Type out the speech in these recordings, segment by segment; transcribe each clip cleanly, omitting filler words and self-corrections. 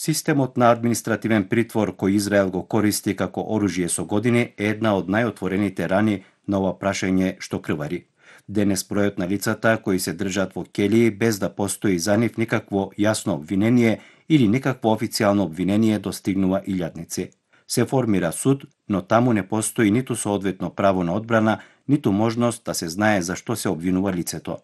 Системот на административен притвор кој Израел го користи како оружје со години е една од најотворените рани на ова прашање што крвари. Денес бројот на лицата кои се држат во келии без да постои за нив никакво јасно обвинение или никакво официјално обвинение достигнува илјадници. Се формира суд, но таму не постои ниту соодветно право на одбрана, ниту можност да се знае за што се обвинува лицето.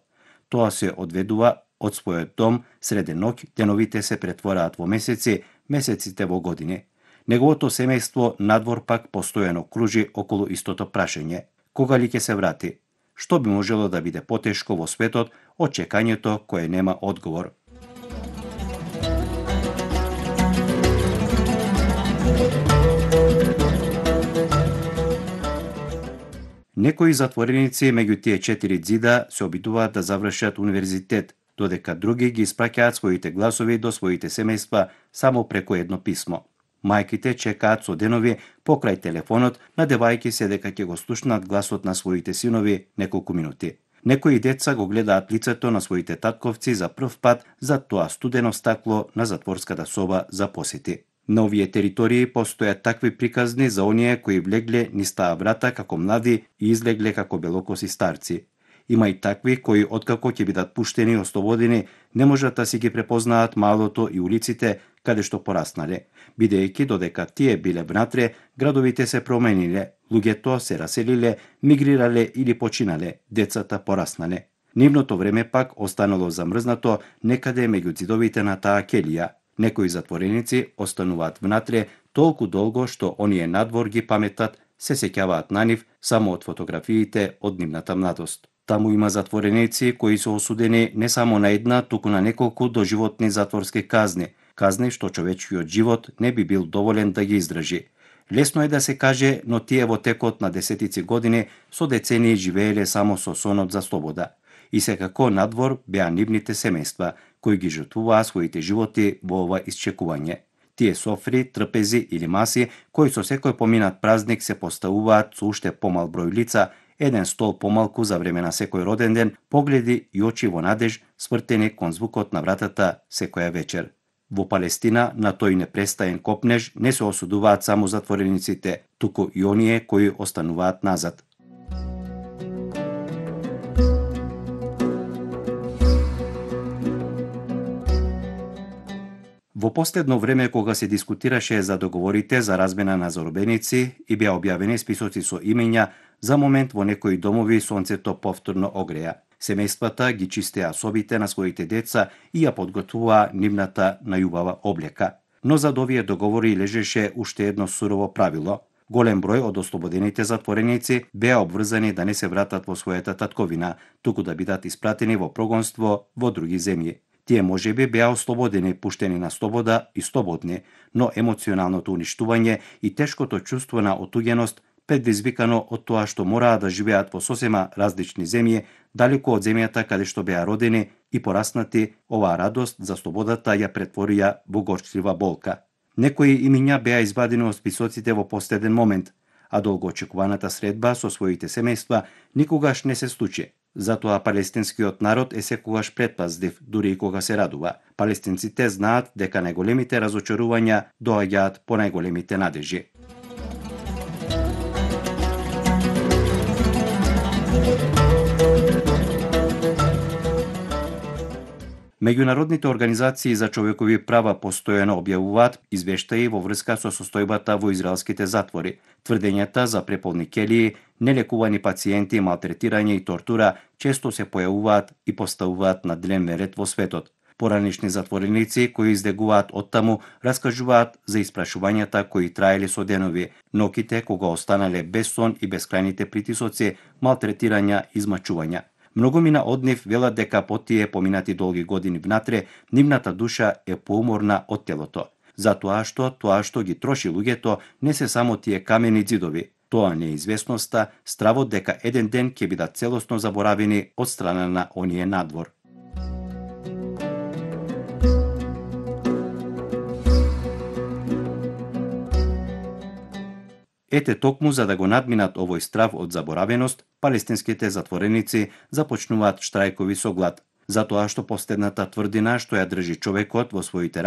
Тоа се одведува од својот дом среде ноќ, деновите се претвораат во месеци, месеците во години. Неговото семејство надвор пак постојано кружи околу истото прашање. Кога ли ќе се врати? Што би можело да биде потешко во светот од чекањето кое нема одговор? Некои затвореници меѓу тие 4 ѕида се обидуваат да завршат универзитет, додека други ги испраќаат своите гласови до своите семејства само преку едно писмо. Мајките чекаат со денови покрај телефонот, надевајќи се дека ќе го слушнат гласот на своите синови неколку минути. Некои деца го гледаат лицето на своите татковци за прв пат за тоа студено стакло на затворската соба за посети. На овие територии постојат такви приказни за оние кои влегле низ таа врата како млади и излегле како белокоси старци. Има и такви кои откако ќе бидат пуштени и ослободени, не можат да си ги препознаат малото и улиците каде што пораснале, бидејќи додека тие биле внатре, градовите се промениле, луѓето се раселиле, мигрирале или починале, децата пораснале. Нивното време пак останало замрзнато некаде меѓу ѕидовите на таа келија. Некои затвореници остануваат внатре толку долго што оние надвор ги паметат, се сеќаваат на нив само од фотографиите од нивната младост. Таму има затвореници кои се осудени не само на една, туку на неколку доживотни затворски казни, казни што човечкиот живот не би бил доволен да ги издржи. Лесно е да се каже, но тие во текот на десетици години со децении живееле само со сонот за слобода. И секако надвор беа нивните семејства, кои ги жртвуваа своите животи во ова исчекување. Тие софри, трпези или маси, кои со секој поминат празник се поставуваат со уште помал број лица, еден стол помалку за време на секој роден ден, погледи и очи во надеж, свртени кон звукот на вратата секоја вечер. Во Палестина на тој непрестаен копнеж не се осудуваат само затворениците, туку и оние кои остануваат назад. Во последно време, кога се дискутираше за договорите за размена на заробеници и беа објавени списоци со имења, за момент во некои домови сонцето повторно огреа. Семејствата ги чистеа собите на своите деца и ја подготвуваа нивната најубава облека. Но зад овие договори лежеше уште едно сурово правило. Голем број од ослободените затвореници беа обврзани да не се вратат во својата татковина, туку да бидат испратени во прогонство во други земји. Тие можеби беа ослободени, пуштени на слобода и слободни, но емоционалното уништување и тешкото чувство на отуѓеност, предизвикано од тоа што мораа да живеат во сосема различни земји, далеку од земјата каде што беа родени и пораснати, оваа радост за слободата ја претворија во горчлива болка. Некои имиња беа извадени од списоците во последен момент, а долгоочекуваната средба со своите семејства никогаш не се случи. Затоа палестинскиот народ е секогаш претпазлив, дури и кога се радува. Палестинците знаат дека најголемите разочарувања доаѓаат по најголемите надежи. Меѓународните организации за човекови права постојано објавуваат извештаи во врска со состојбата во израелските затвори. Тврдењата за преполни келии, нелекувани пациенти, малтретирање и тортура често се појавуваат и поставуваат на дневен ред во светот. Поранишни затвореници кои издегуваат оттаму раскажуваат за испрашувањата кои траеле со денови, ноќите кога останале без сон и бескрајните притисоци, малтретирања и измачувања. Многумина од нив велат дека по тие поминати долги години внатре, нивната душа е поуморна од телото. Затоа што ги троши луѓето не се само тие камени ѕидови. Тоа неизвестноста, стравот дека еден ден ќе бидат целосно заборавени од страна на оние надвор. Ете токму за да го надминат овој страв од заборавеност, палестинските затвореници започнуваат штрајкови со глад, затоа што последната тврдина што ја држи човекот во своите раце